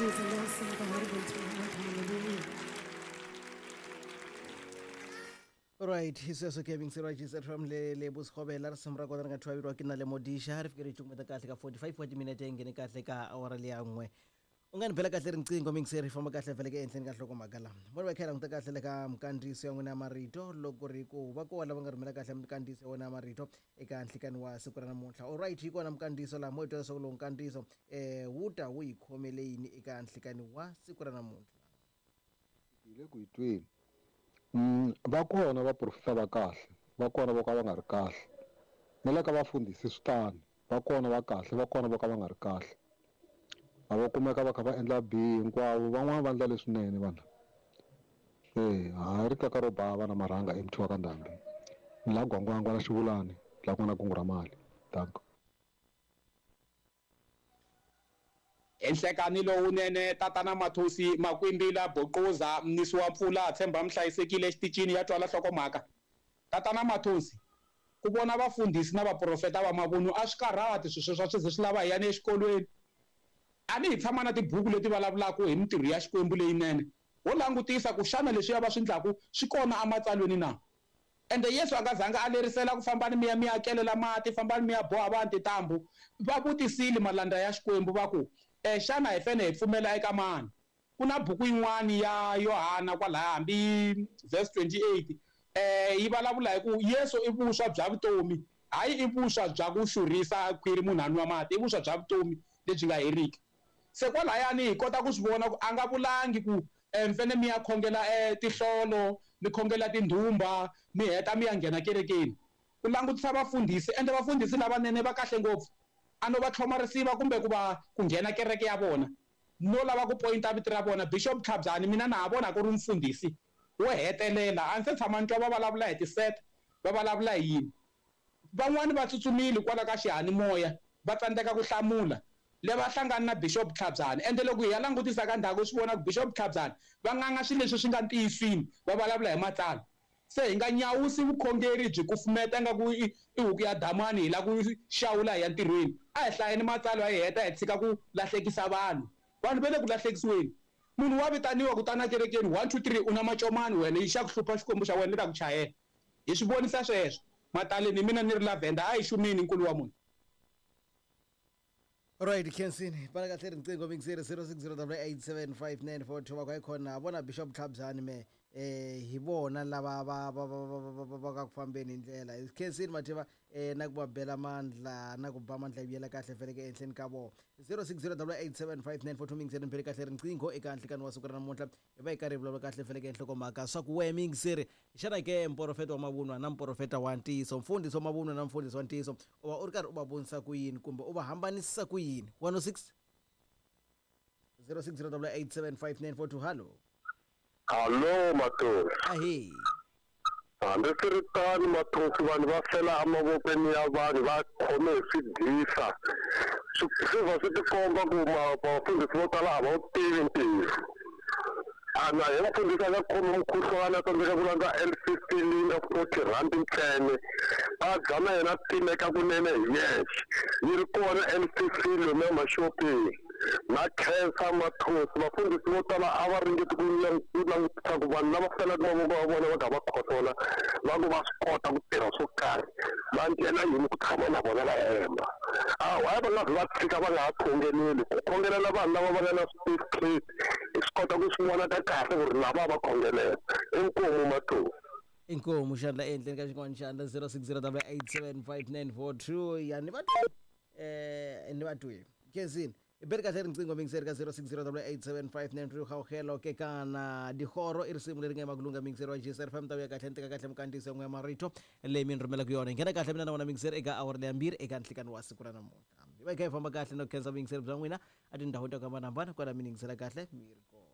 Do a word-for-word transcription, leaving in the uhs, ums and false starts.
He is an awesome God unto hallelujah. Right, sweswo ke mingiseriwa G Z from le le Buskhobela risimu ra kona ri nga thwaveriwa ke na le Modisha ri fike ri cukumeta kahle ka forty-five wa timinete yi nghene kahle ka awara leya n'we. U nga ni bela kahle riqingho mingiseri famba kahle vhele ke ehenhleni ka nhlokomhaka lama vona va kha hi languta kahle le ka minkandziyiso ya n'wina ya marito loko ri ku va kona lava nga rhumela kahle minkandziyiso ya wena ya marito eka nhlikani wa siku ra namuntlha. Alright, yi kona minkandziyiso laha mo hi twa leswaku lowu nkandziyiso um wu ta wu yi khomele yini eka nhlikani wa siku ra namuntlha. Hi le ku yi tweni. Mm, va kona vaprofeta va kahle, va kona vo ka va nga ri kahle. Na le ka vafundhisi swi tano, va kona va kahle, va kona vo ka va nga ri kahle. A va kumeka va kha va endla bihi hinkwavo, van'wani va endla leswinene vanhu. Se ha ri kaka ro bava na marhanga emuthiwa ka ndhambi. Ni la Gwangwangwa na Xivulani, la ku nga na kungu ra mali. Danko. Enhlekani lowunene tatana Mathosi Makwimbila Boquza mnisi wa mpfula tshemba mhlayisekile exitichini ya twala nhlokomhaka. Tatana Mathosi, ku vona vafundhisi na vaprofeta va mavunwa a swi karhati swilo sweswo swi ze swi lava hi yani exikolweni. A ni hi tshama na tibuku leti vulavulaka hi mintirho ya Xikwembu leyinene. Ho langutisa ku xana leswiya va swi endlaku swi kona ematsalweni na. Ende Yesu a nga zanga a lerisela ku fambani mi ya mi ya kelela mati, fambani mi ya boha vanhu tintambu. Va vutisile malandza ya Xikwembu va ku, eh, xana hi fanele hi pfumela eka mani? Ku na buku yin'wani ya Yohana kwalaya hambi verse twenty-eight, eh, yi vulavula hi ku Yesu i vuswa bya vutomi, hayi i vuswa bya ku xurhisa khwiri munhu a nwa mati, i vuswa bya vutomi lebyi nga heriki. Se kwalayani hi kota ku swi vona ku a nga vulangi ku, eh, mi fanele mi ya khongela, eh, tihlolo, mi khongela tindhumba, mi heta mi ya nghena kerekeni. Ku langutisa vafundhisi, ende vafundhisi lavanene va kahle ngopfu. A no va tlhoma risiva kumbe ku va ku nghena kereke ya vona. No lava ku pointa vito ra vona Bishop Tlhabyani, mina na ha vona ku ri mufundhisi wo hetelela. A ndzi se tshama ni twa va vulavula hi tiset, va vulavula hi yini. Van'wani va tsutsumile kwala ka xiyanimoya, va tsandzeka ku hlamula. Le va hlangana na Bishop Tlhabyani. Ende loko hi ya langutisa ka ndhawu swi vona ku Bishop Tlhabyani va nganga swilo leswi swi nga ntiyisweni, va vulavula hi matsalwa. Se hi nga nyawusi vukhongeri byi kufumeta nga ku i, i huku ya damani hi la ku xawula hi ya ntirhweni. A hi hlayeni matsalwa hi heta hi tshika ku lahlekisa vanhu. Vanhu va le ku lahlekisiweni. Munhu wa vitaniwa ku tana kerekeni one two three u na macomani wena yi xa ku hlupha Xikwembu xa wena ni ta ku chayela. Hi swi vonisa sweswo. Mataleni hi mina ni ri Lavender a hi xumini nkulu wa munhu. Right, Kensini, bala kahle riqingho mingiseri zero six zero double eight seven five nine four two va ku khona vona Bishop Tlhabyani me eh hi vona lava va va va va va va ka ku fambeni hi ndlela. Kensini Matheva eh na ku va bela mandla na ku ba mandla yi yela kahle vhele ke ehenhleni ka vona. zero six zero double eight seven five nine four two mingiseri ni bele kahle riqingho eka nhlikani wa siku ra namuntlha. Hi va hi karhi hi vulavula kahle vhele ke nhlokomhaka swa ku wehe mingiseri xana ke mporofeta wa mavunwa na mporofeta wa ntiyiso, mfundhisi wa mavunwa na mfundhisi wa ntiyiso u va u ri karhi u va vonisa ku yini kumbe u va hambanisa ku yini? one oh six zero six zero double eight seven five nine four two. Hallo. Hallo Mathosi. Ahe. Hambi swi ri tano Mathosi, vanhu va fela emavokweni ya vanhu va khome hi swidyisa. Swi swi va swi tikomba ku vafundhisi vo tala a va wu tivi ntiyiso. A na hi mufundhisi a nga khomi mukhuhlwani a tsandzeka ku landza L fifteen of forty rand ntsena. A dya na yena timeka kunene hi yexe. Yi ri kona L fifteen lomu ya maxopeni. Na khensa Mathosi, vafundhisi vo tala a va ringeti ku langutisa ku vanhu lava felaka mavoko ya vona va kha va khohlola va ku va swi kota ku tirha swo karhi, va ndlela yini ku tshama na vona va hemba. A why va nga zi va tshika va nga ha khongeleli? Ku khongelela vanhu lava va nga na switifiketi hi swi kota ku swi vona ka kahle ku ri lava va khongelela. Inkomu Mathosi. Inkomu xandla ehenhleni ka xin'wana xandla zero six zero double eight seven five nine four two. Ya ni va eh ni va twi. Kensini i beri kahle riqingho mingiseri ka zero six zero double eight seven five nine three Gauhelo ke kana dihoro i risimu leri nga emakulunga mingiseri wa G S R F M ta vuya kahle ni teka kahle minkandziyiso ya n'we ya marito leyi mi ni rhumelaka yona. Hi nghena kahle mina na wona mingiseri eka awara leya mbirhi eka nhlikani wa siku ra namuntlha. Hi va hi kha hi famba kahle no khensa vuyingiseri bya n'wina a tindhawini ta ku hambanahambana kwala mi ni yingisela kahle mi ri kona.